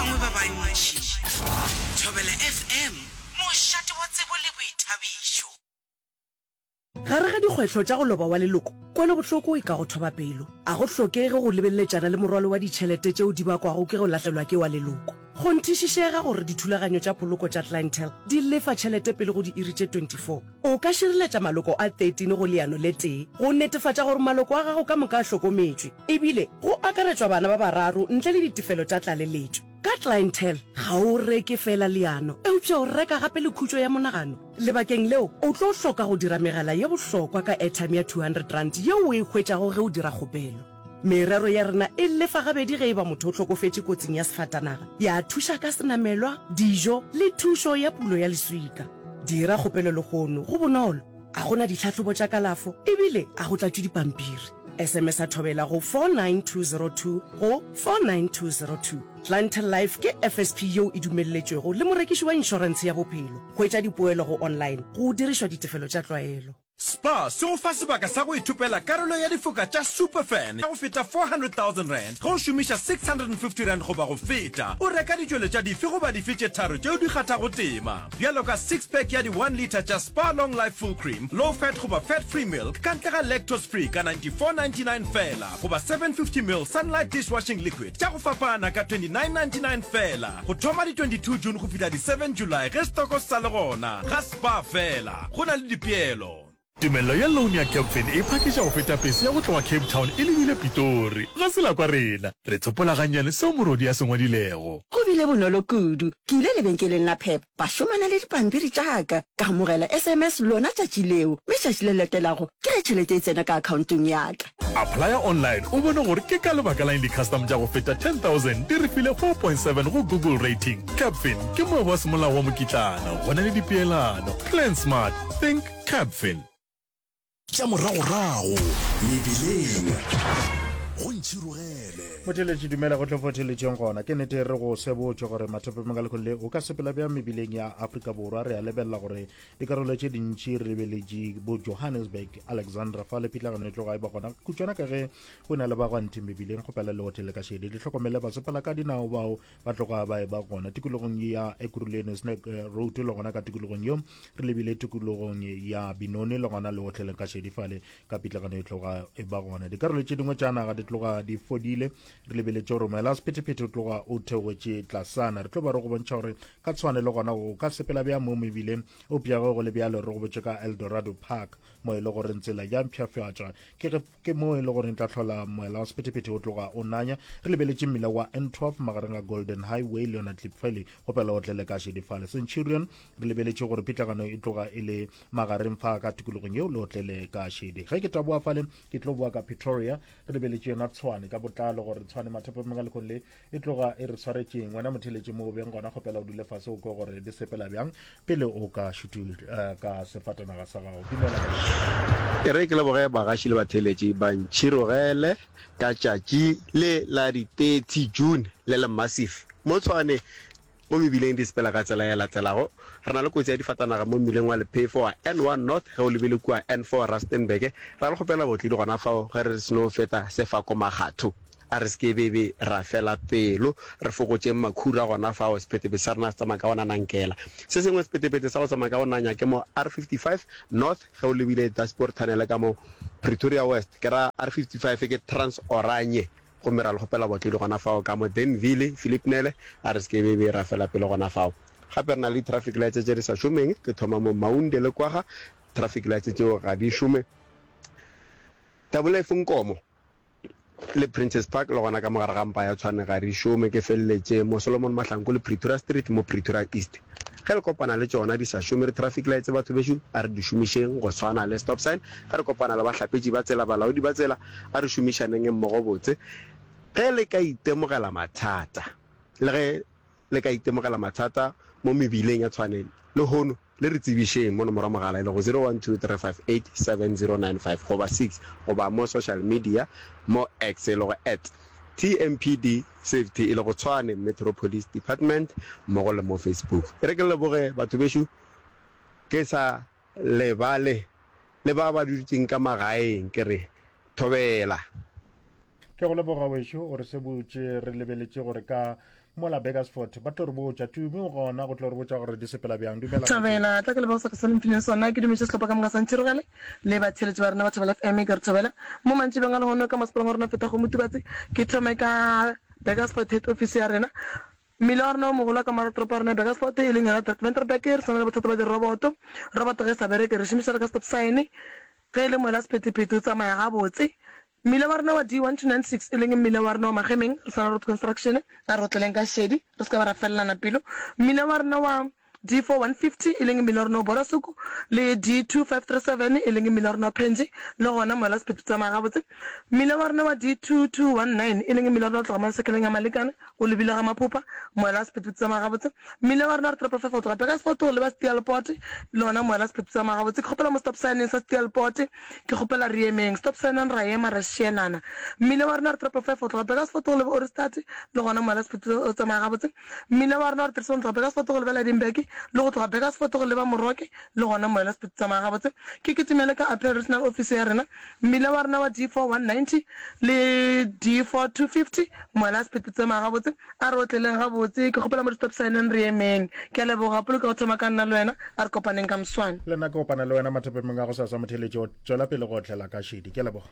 bangwe ba bantši. Thobela FM, mošate wa tsebo le boithabišo. Gare ga dikgwetlho tša go loba wa leloko, kwelobohloko e ka go thoba pelo. A go hlokege go lebeletšana le morwalo wa ditšhelete tšeo di bakwago ke go lahlelwa ke wa leloko. Kgonthišišega gore dithulaganyo tša poloko tša Clientele di lefa tšhelete pele go diiri tše 24. O ka šireletša maloko a 13 go leano le tee go netefatša gore maloko a gago ka moka a hlokometšwe, ebile go akaretšwa bana ba bararo ntle le ditefelo tša tlaleletšo. Ka Clientele, ga o reke feela leano, eupša o reka gape le khutšo ya monagano. Lebakeng leo, o tlo hloka go dira megala ye bohlokwa ka airtime ya R200 yeo o e hwetšago ge o dira kgopelo. Merero ya rena e lefa gabedi ge e ba motho o hlokofetše kotsing ya sefatanaga, ya thuša ka senamelwa, dijo le thušo ya pulo ya leswika. Dira kgopelo lehono, go bonolo, a go na ditlhahlobo tša kalafo ebile a go tlatšwe dipampiri. SMS-a Thobela go 49202 go 49202. Clientele Life ke FSP yeo e dumelletšwego le morekiši wa inšorentshe ya bophelo. Hwetša dipoelo go online go dirišwa ditefelo tša tlwaelo. Spar se go fa sebaka sa go ithopela karolo ya difoka tša Superfan ya go feta R400,000 ge o šomiša R650 goba go feta o reka ditšweletša dife goba dife tše tharo tšeo di kgathago tema, bjalo ka six pack ya di one litre tša Spar Long Life Full Cream, Low Fat goba Fat Free Milk ka ntle ga Lactose Free ka R94.99 feela goba 750 ml Sunlight Dishwashing Liquid tša go fapana ka R29.99 feela go thoma di 22 June go fihla di 7 July ge stoko se sa le gona ga Spar feela. Go na le dipeelo. Tumello ya loan ya Capfin e phakiša go feta pese ya go tloga Cape Town e lebile Pitori. Ga se la kwa rena. Re tsopola gannyane seo morodi a se ngwadilego. Go bile bonolo kudu. Ke ile lebenkeleng la Pep, ba šomana le dipampiri tša ka. Ka amogela SMS lona tšatši leo, mme tšatši le latelago ke ge tšhelete e tsena ka akhaontong ya ka. Applya online o bone gore ke ka lebaka la eng di-custom tša go feta 10,000 di re file 4.7 go Google rating. Capfin ke moabi wa semolao wa mokitlana, go na le dipeelano. Plan smart, think Capfin. Tša moragorago mebileng go ntšhirogele. Motheeletši dumela go tlo fotheletšeng gona. Ke nnete re go sebotše gore mathapameng a lekgolo le o ka sepela bjang mebileng ya Afrika Borwa. Re a lebelela gore dikarolo tše dintši re lebeletše bo Johannesburg, Alexandra fa le pitlagano e tloga e ba gona kutšwana ka ge go na le bagwanti mebileng. Kgopela le otlele ka šedi le hlokomele basepela ka dinao bao ba tloga ba e ba gona tikologong ya Ekurhuleni Snack eh, Road le gona ka tikologong yeo re lebile tikologong ya Binoni le gona le otleleng ka šedi fale ka pitlagano e tloga e ba gona. Dikarolo tše dingwe tša naga di tloga di fodile re lebeletše gore moela wa sephethephethe o tloga o theogetše tlasana. Re tlo ba re go bontšha gore ka tshwane le gona o ka sepela bjang mo mebileng eupša ge go le bjalo re go botše ka Eldorado Park mo e le gore tsela ya mpshafatšwa ke ge Ke mo e le gore tla hlola moela wa sephethephethe o tloga o nanya. Re lebeletše mmila wa N12 magareng a Golden Highway le yona Klipvalley go pela o tlele ka Šedifale. Centurion re lebeletše gore pitlagano e tloga e le magareng fa ka tikologong yeo le otlele ka šedi. Ge ke taboa fale ke tlo boa ka Pretoria re lebeletše yona Tshwane ka botlalo gore Tshwane mathapameng a lekgong le e tloga e re swaretšeng. Wena motheletše mo o beng gona kgopela o dule fase o kwe gore di sepela bjang pele o ka šutu eh, ka sefatanaga sa gago. Dumela. E re ke leboge bagaši le batheeletši ba ntšhirogele ka tšatši le la di 30 June le le massive mo Tshwane mo mebileng di sepela ka tsela e latelago. Re na le kotsi ya difatanaga mo mmileng wa lephefo wa N1 North ge o lebile kua N4 Rustenburg. Ra le kgopela botledi gona fao ge re seno feta Sefako Makgatho. A re se ke be be ra fela pelo, re fokotšeng makhura gona fao, sephethephethe sa rena se tsamaya ka go nanankela. Se sengwe sephethephethe sa go tsamaya ka go nanya ke mo R55 North ge o lebile Daspoort Tunnel ka mo Pretoria West, ke ra R55 ke Trans Oranje, gomme ra le kgopela botledi gona fao ka mo Danville, Philipnele, a re se ke be be ra fela pelo gona fao. Gape re na le di-traffic lights tše di sa šomeng, ke thoma mo Maunde le Kwagga, traffic lights tšeo ga di šome. Tabolefe Nkomo. Le Princess Park le gona ka mo gare ga mpa ya Tshwane ga di šome, ke feleletše mo Solomon Mahlangu le Pretoria Street mo Pretoria East. Ge le kopana le tšona di sa šome di-traffic lights batho bešo a re di šomišeng go swana le stop sign. Ge re kopana le bahlapetši ba tsela, balaodi ba tsela, a re šomišaneng mmogo botse. Ge le ka itemogela mathata le ge le ka itemogela mathata mo mebileng ya Tshwane lehono, le re tsebišeng mo nomoro ya mogala e lego 0123587095 goba 6 goba mo social media mo X e lego at TMPD Safety e lego Tshwane Metro Police Department mmogo le mo Facebook. E re ke leboge batho bešo ke sa lebale le ba ba dutšeng ka magaeng ke re thobela. Ke go leboga wešo o re sebotše re lebeletše gore ka. Mola Burgersfort ba tlo re botša. Tumi o gona go tlo re botša gore di sepela bjang. Dumela Thobela, tla ke leboge seka se le mphileng sona. Ke dumetše sehlopha ka moka sa Ntšhirogele le batheeletši ba rena ba Thobela FM. Ke re thobela mo mantšibeng a lehono ka masepaleng wa rena o fetago Motubatse. Ke thome ka Burgersfort head office ya rena. Mmila wa rena o mogolo wa ka morago toropo ya rena ya Burgersfort e leng yona Ventersburg re sa na le bothata ba diroboto. Roboto ge e sa bereke re šomiša re ka stop sign. Ge e le mola sephethephethe o tsamaya gabotse. Mmila wa rena wa D1296 e leng mmila wa rena wa Magemeng re sa na road construction, a re otleleng ka šedi re se ka ba ra felelana pelo. Mmila wa rena wa D4150 e leng mmila wa rena wa Borasuku le D2537 e leng mmila wa rena wa Phenji le gona moela sephetho tsamaya gabotse. Mmila wa rena wa D2219 e leng mmila wa rena wa tloga masekeleng a Malekane o lebile ga Maphopha, moela sephetho tsamaya gabotse. Mmila wa rena wa Triple Five go tloga Burgersfort go leba Steelpoort le gona moela sephetho tsamaya gabotse. Ke kgopela mo stop sign-eng sa Steelpoort Ke kgopela re emeng. Stop sign-ang ra ema ra šielana. Mmila wa rena re Triple Five go tloga Burgersfort go leba Ohrigstad le gona mola sephetho o tsamaya gabotse. Mmila wa rena re Trisong go tloga Burgersfort go leba Lydenburg le go tloga Burgersfort go leba Moroke le gona mola sephetho tsamaya gabotse. Ke kitimele ka Appeal Regional Office ya rena. Mmila wa rena wa D4 190 le D4 250 mola sephetho tsamaya gabotse. A re otleleng gabotse. Ke kgopela mo di-stop sign-eng re emeng. Ke a leboga. Polokego thoma ka nna le wena. A re kopaneng ka moswane. Le nna ke kopana le wena mathapemeng a gosasa motheeletši. O tšwela pele go otlela ka šedi. Ke a leboga.